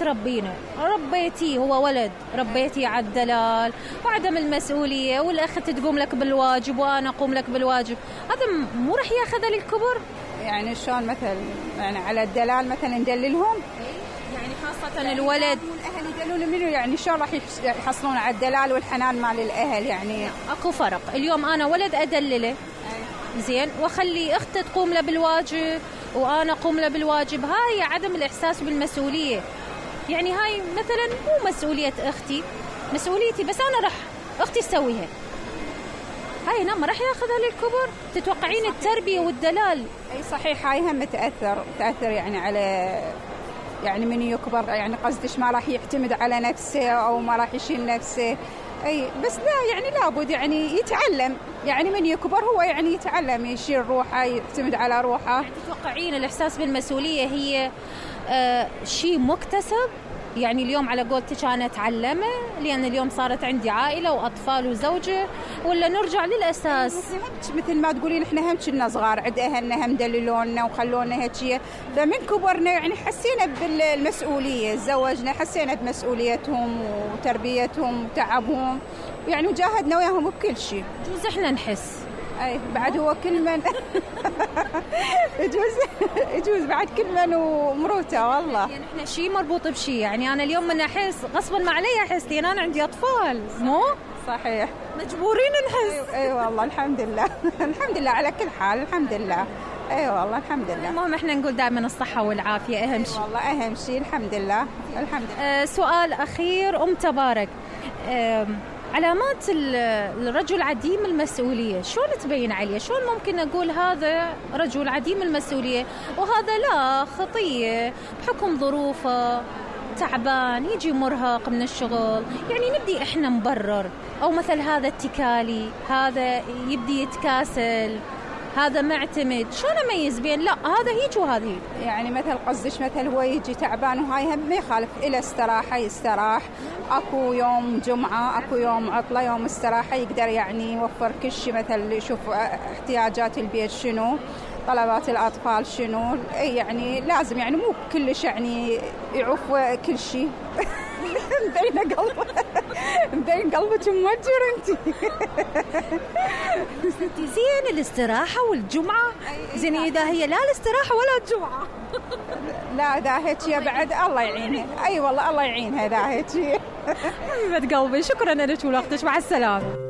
تربينا ربيتي هو ولد، ربيتي على الدلال وعدم المسؤولية، والأخت تقوم لك بالواجب وأنا أقوم لك بالواجب، هذا مو رح ياخذها للكبر؟ يعني شلون مثلا يعني على الدلال مثلا ندللهم؟ يعني خاصة الولد والأهل يدلون منه، يعني شلون راح يحصلون على الدلال والحنان مال الأهل؟ يعني أكو فرق. اليوم أنا ولد أدلله زين وأخلي أخته تقوم له بالواجب وأنا أقوم له بالواجب، هاي عدم الإحساس بالمسؤولية. يعني هاي مثلا مو مسؤولية أختي، مسؤوليتي، بس أنا أختي تسويها. هاي هنا ما راح ياخذها للكبر. تتوقعين التربية والدلال؟ أي صحيح، هاي هم تأثر يعني على يعني من يكبر، يعني قصدش ما راح يعتمد على نفسه أو ما راح يشيل نفسه. أي بس لا، يعني لابد يعني يتعلم، يعني من يكبر هو يعني يتعلم يشيل روحه، يعتمد على روحه. يعني تتوقعين الإحساس بالمسؤولية هي شيء مكتسب؟ يعني اليوم على قولتك أنا أتعلمه لأن اليوم صارت عندي عائلة وأطفال وزوجة، ولا نرجع للأساس؟ مثل ما تقولين إحنا هم كنا صغار عند أهلنا هم دللونا وخلونا هيك، فمن كبرنا يعني حسينا بالمسؤولية، تزوجنا حسينا بمسؤوليتهم وتربيتهم وتعبهم، يعني وجاهدنا وياهم بكل شيء. جوز إحنا نحس أي بعد هو كل من يجوز بعد كل من ومروته والله. يعني احنا شيء مربوط بشيء، يعني انا اليوم من احس غصبا ما علي احس لان انا عندي اطفال، مو صحيح مجبورين نحس. اي والله الحمد لله الحمد لله على كل حال، الحمد لله. اي والله الحمد لله. المهم احنا نقول دائما الصحة والعافية اهم شيء. والله اهم شيء، الحمد لله الحمد لله. سؤال اخير تبارك، علامات الرجل عديم المسؤولية شلون تبين عليه؟ شلون ممكن أقول هذا رجل عديم المسؤولية وهذا لا، خطية بحكم ظروفه، تعبان، يجي مرهق من الشغل، يعني نبدي إحنا نبرر، أو مثل هذا اتكالي، هذا يبدي يتكاسل، هذا معتمد. شلون أميز بين لا هذا هيك وهذا هيك؟ يعني مثل قصدش مثل هو يجي تعبان وهاي هم ما يخالف إلى استراحة يستراح، أكو يوم جمعة أكو يوم عطلة، يوم استراحة يقدر يعني يوفر كل شيء، مثل يشوف احتياجات البيت شنو، طلبات الأطفال شنو، يعني لازم يعني مو كلش يعني يعوف كل شيء. مبين قلبك موجر انت. زين الاستراحة والجمعة، زين إذا هي لا الاستراحة ولا الجمعة. لا ذا هيك بعد الله يعينها. اي والله الله يعينها ذا هيك. حبيبة قلبي، شكرا لك ولوقتك، مع السلامة.